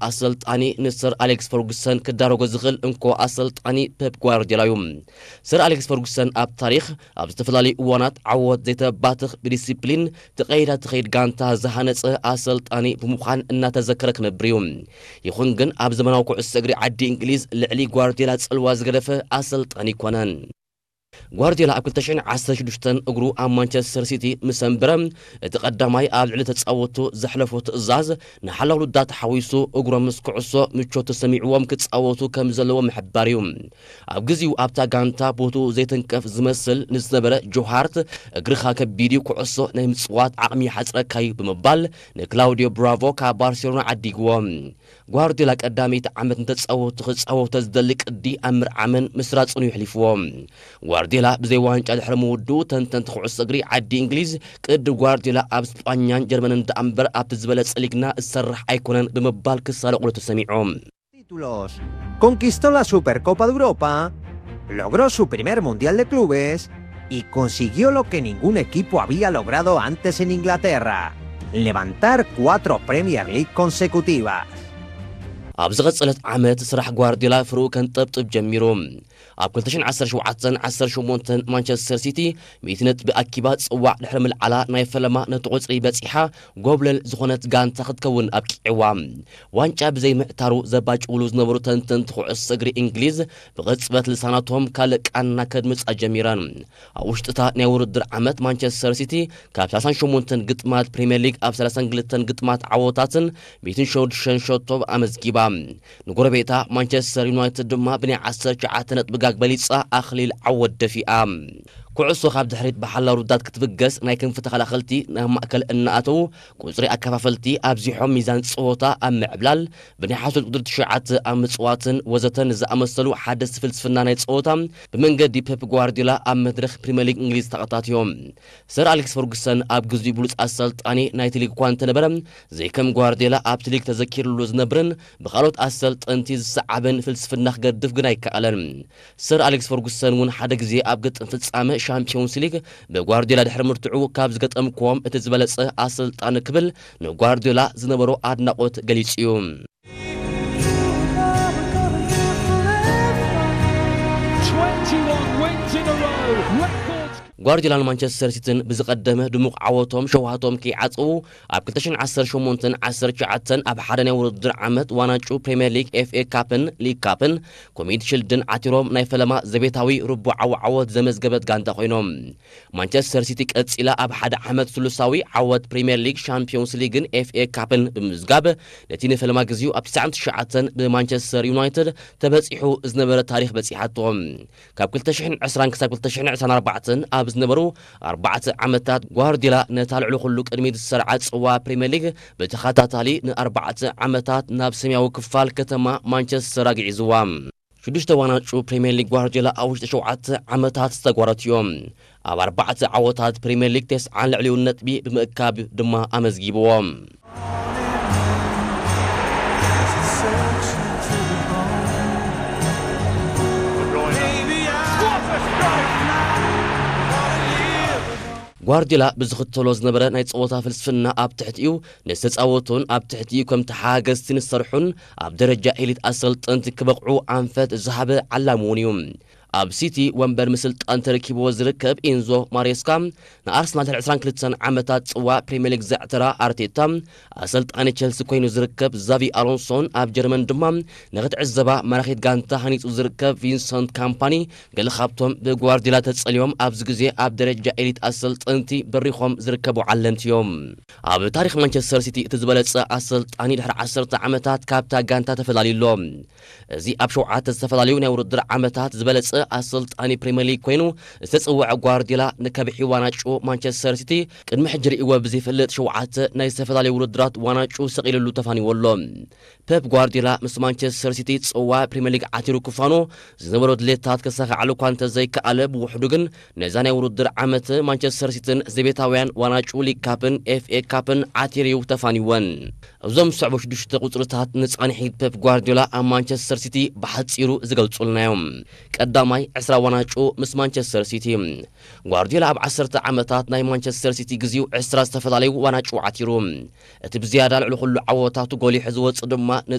ኣሰልጣኒ ንሰር ኣሌክስ ፈርጉሰን ክዳረጎ ዝኽእል እንኮ ኣሰልጣኒ ፔፕ ጓርዲዮላ እዩ። ሰር ኣሌክስ ፈርጉሰን ኣብ ታሪኽ ኣብ ዝተፈላለዩ እዋናት ዓወት ዘይተባትኽ፣ ብዲሲፕሊን ተቐይዳ ትኸይድ ጋንታ ዝሃነጸ ኣሰልጣኒ ብምዃን እናተዘከረ ክነብር እዩ። ይኹን ግን ኣብ ዘመናዊ ኩዕሶ እግሪ ዓዲ እንግሊዝ ልዕሊ ጓርዲዮላ ጽልዋ ዝገደፈ ኣሰልጣኒ ኣይኮነን። ጓርዲዮላ ኣብ ክልተ ሽሕን ዓሰርተ ሽዱሽተን እግሩ ኣብ ማንቸስተር ሲቲ ምስ ኣንበረ፣ እቲ ቀዳማይ ኣብ ልዕሊ ተጻወቱ ዘሕለፎ ትእዛዝ ንሓላው ልዳት ሓዊሱ እግሮም ምስ ኩዕሶ ምቾት ተሰሚዕዎም ክጻወቱ ከም ዘለዎ ምሕባር እዩ። ኣብ ግዜኡ ኣብታ ጋንታ ቦትኡ ዘይተንቀፍ ዝመስል ንዝነበረ ጆ ሃርት፣ "እግርኻ ከቢድ እዩ፣ ኩዕሶ ናይ ምጽዋት ዓቕሚ ይሓጽረካ እዩ" ብምባል ንክላውዲዮ ብራቮ ካብ ባርሴሎና ዓዲግዎ። ጓርዲዮላ ቀዳመይቲ ዓመት ንተጻወቱ ክጻወቶ ዝደሊ ቅዲ ኣብ ምርዓምን ምስራጽን እዩ ኣሕሊፍዎ። ጓርዲዮላ ብዘይ ዋንጫ ድሕሪ ምውድኡ፣ ተንተንቲ ኩዕሶ እግሪ ዓዲ እንግሊዝ፣ "ቅዲ ጓርዲዮላ ኣብ ስጳኛን ጀርመንን ደኣ እምበር ኣብቲ ዝበለጸ ሊግና ዝሰርሕ ኣይኮነን" ብምባል ክሳለቑሉ ተሰሚዖም። Títulos. Conquistó la Supercopa de Europa, logró su primer Mundial de Clubes y consiguió lo que ningún equipo había logrado antes en Inglaterra, levantar cuatro Premier League consecutivas. ኣብ ዝቐጸለት ዓመት ስራሕ ጓርዲዮላ ፍርኡ ከንጠብጥብ ጀሚሩ። ኣብ ክልተ ሽሕን ዓሰርተ ሸውዓተን ዓሰርተ ሸሞንተን ማንቸስተር ሲቲ ሚእቲ ነጥቢ ኣኪባ ጽዋዕ ድሕሪ ምልዓላ፣ ናይ ፈለማ ነቲ ቁጽሪ በጺሓ ጎብለል ዝኾነት ጋንታ ክትከውን ኣብቂዕዋ። ዋንጫ ብዘይ ምዕታሩ ዘባጭውሉ ዝነበሩ ተንተንቲ ኩዕሶ እግሪ እንግሊዝ ብቕጽበት ልሳናቶም ካልእ ቃና ከድምጻ ጀሚረን። ኣብ ውሽጥታ ናይ ውድድር ዓመት ማንቸስተር ሲቲ ካብ ሰላሳን ሸሞንተን ግጥማት ፕሪምየር ሊግ ኣብ ሰላሳን ክልተን ግጥማት ዓወታትን ሚእትን ሸዱሽተን ሸቶ ኣመዝጊባ። ንጎረቤታ ማንቸስተር ዩናይትድ ድማ ብናይ ዓሰርተ ትሽዓተ ነጥቢ ጋግ በሊጻ ኣኽሊል ዓወት ደፊኣ። ኩዕሶ ካብ ድሕሪት ብሓላው ርዳት ክትብገስ፣ ናይ ክንፊ ተኸላኸልቲ ናብ ማእከል እናኣተዉ ቁጽሪ ኣከፋፈልቲ ኣብዚሖም ሚዛን ጸወታ ኣብ ምዕብላል፣ ብናይ ሓሶት ቁጽሪ ትሽዓተ ኣብ ምጽዋትን ወዘተን ዝኣመሰሉ ሓደስቲ ፍልስፍና ናይ ጸወታ ብመንገዲ ፔፕ ጓርዲዮላ ኣብ መድረኽ ፕሪምየር ሊግ እንግሊዝ ተኣታትዮም። ሰር ኣሌክስ ፈርጉሰን ኣብ ግዜኡ ብሉጽ ኣሰልጣኒ ናይቲ ሊግ እኳ እንተነበረ፣ ዘይከም ጓርዲዮላ ኣብቲ ሊግ ተዘኪርሉ ዝነብርን ብኻልኦት ኣሰልጠንቲ ዝሰዓብን ፍልስፍና ክገድፍ ግን ኣይከኣለን። ሰር ኣሌክስ ፈርጉሰን እውን ሓደ ግዜ ኣብ ግጥም ፍጻመ ሻምፒዮንስ ሊግ ብጓርዲዮላ ድሕሪ ምርትዑ፣ "ካብ ዝገጠምክዎም እቲ ዝበለጸ ኣሰልጣኒ" ክብል ንጓርዲዮላ ዝነበሮ ኣድናቖት ገሊጹ እዩ። twenty-one wins in a row. Records. ጓርዲዮላን ማንቸስተር ሲቲን ብዝቐደመ ድሙቕ ዓወቶም ሸውሃቶም ከይዓጸዉ፣ ኣብ ክልተ ሽሕን ዓሰርተ ሸሞንተን ዓሰርተ ትሽዓተን ኣብ ሓደ ናይ ውድድር ዓመት ዋንጫ ፕሪምየር ሊግ፣ ኤፍ ኤ ካፕን ሊግ ካፕን ኮሚኒቲ ሽልድን ዓቲሮም ናይ ፈለማ ዘቤታዊ ርቡዓዊ ዓወት ዘመዝገበት ጋንታ ኮይኖም። ማንቸስተር ሲቲ ቀጺላ ኣብ ሓደ ዓመት ስሉሳዊ ዓወት ፕሪምየር ሊግ፣ ሻምፒዮንስ ሊግን ኤፍ ኤ ካፕን ብምምዝጋብ፣ ነቲ ንፈለማ ግዜኡ ኣብ ትስዓን ትሽዓተን ብማንቸስተር ዩናይትድ ተበጺሑ ዝነበረ ታሪኽ በጺሓቶ። ካብ ክልተ ሽሕን ዕስራን ክሳብ ክልተ ሽሕን ዕስራን ኣርባዕተን ኣብ ዝነበሩ ኣርባዕተ ዓመታት፣ ጓርዲዮላ ነታ ልዕሊ ኩሉ ቅድሚት ዝሰርዓ ጽዋ ፕሪምየር ሊግ ብተኸታታሊ ንኣርባዕተ ዓመታት ናብ ሰማያዊ ክፋል ከተማ ማንቸስተር ኣግዒዝዋ። ሽዱሽተ ዋንጫ ፕሪምየር ሊግ ጓርዲዮላ ኣብ ውሽጢ ሸውዓተ ዓመታት ዝተጓረቱ እዮም። ኣብ ኣርባዕተ ዓወታት ፕሪምየር ሊግ ተስዓን ልዕሊኡን ነጥቢ ብምእካብ ድማ ኣመዝጊብዎ። ጓርዲዮላ ብዝኽተሎ ዝነበረ ናይ ጸወታ ፍልስፍና፣ ኣብ ትሕቲኡ ንዝተጻወቱን ኣብ ትሕቲኡ ከም ተሓጋገዝቲ ንዝሰርሑን ኣብ ደረጃ ኤሊት ኣሰልጠንቲ ክበቕዑ ኣንፈት ዝሃበ ዓላሚ እውን እዩ። ኣብ ሲቲ ወንበር ምስልጣን ተረኪብዎ ዝርከብ ኢንዞ ማሬስካ፣ ንኣርሰናል ድሕሪ ዕስራን ክልተን ዓመታት ጽዋ ፕሪምየር ሊግ ዘዕተራ ኣርቴታ፣ ኣሰልጣኒ ቸልሲ ኮይኑ ዝርከብ ዛቪ ኣሎንሶን፣ ኣብ ጀርመን ድማ ንኽትዕዘባ ማራኺት ጋንታ ሃኒጹ ዝርከብ ቪንሰንት ካምፓኒ፣ ገለ ካብቶም ብጓርዲዮላ ተጸልዮም ኣብዚ ግዜ ኣብ ደረጃ ኤሊት ኣሰልጠንቲ በሪኾም ዝርከቡ ዓለምቲ እዮም። ኣብ ታሪኽ ማንቸስተር ሲቲ እቲ ዝበለጸ ኣሰልጣኒ ድሕሪ ዓሰርተ ዓመታት ካብታ ጋንታ ተፈላልዩ ኣሎ። እዚ ኣብ ሸውዓተ ዝተፈላለዩ ናይ ውድድር ዓመታት ዝበለጸ ኣሰልጣኒ ፕሪምየር ሊግ ኮይኑ ዝተጸውዐ ጓርዲዮላ፣ ንከብሒ ዋንጫ ማንቸስተር ሲቲ ቅድሚ ሕጂ ርእይዎ ብዘይፈልጥ ሸውዓተ ናይ ዝተፈላለዩ ውድድራት ዋንጫ ሰቒልሉ ተፋኒዎ ኣሎ። ፔፕ ጓርዲዮላ ምስ ማንቸስተር ሲቲ ጽዋ ፕሪምየር ሊግ ዓቲሩ ክፋኖ ዝነበሮ ድሌታት ከሳኽዓሉ እኳ እንተዘይከኣለ፣ ብውሕዱ ግን ነዛ ናይ ውድድር ዓመት ማንቸስተር ሲቲን ዘቤታውያን ዋንጫ ሊግ ካፕን ኤፍ ኤ ካፕን ዓቲሩ እዩ ተፋኒወን። እዞም ዝስዕቡ ሽዱሽተ ቁጽርታት ንጻንሒት ፔፕ ጓርዲዮላ ኣብ ማንቸስተር ሲቲ ብሓጺሩ ዝገልጹልና እዮም። ቀዳማይ፣ ዕስራ ዋንጫ ምስ ማንቸስተር ሲቲ። ጓርዲዮላ ኣብ ዓሰርተ ዓመታት ናይ ማንቸስተር ሲቲ ግዜኡ ዕስራ ዝተፈላለዩ ዋንጫ ዓቲሩ። እቲ ብዝያዳ ልዕሊ ኩሉ ዓወታቱ ጎሊሑ ዝወጽእ ድማ ነጻ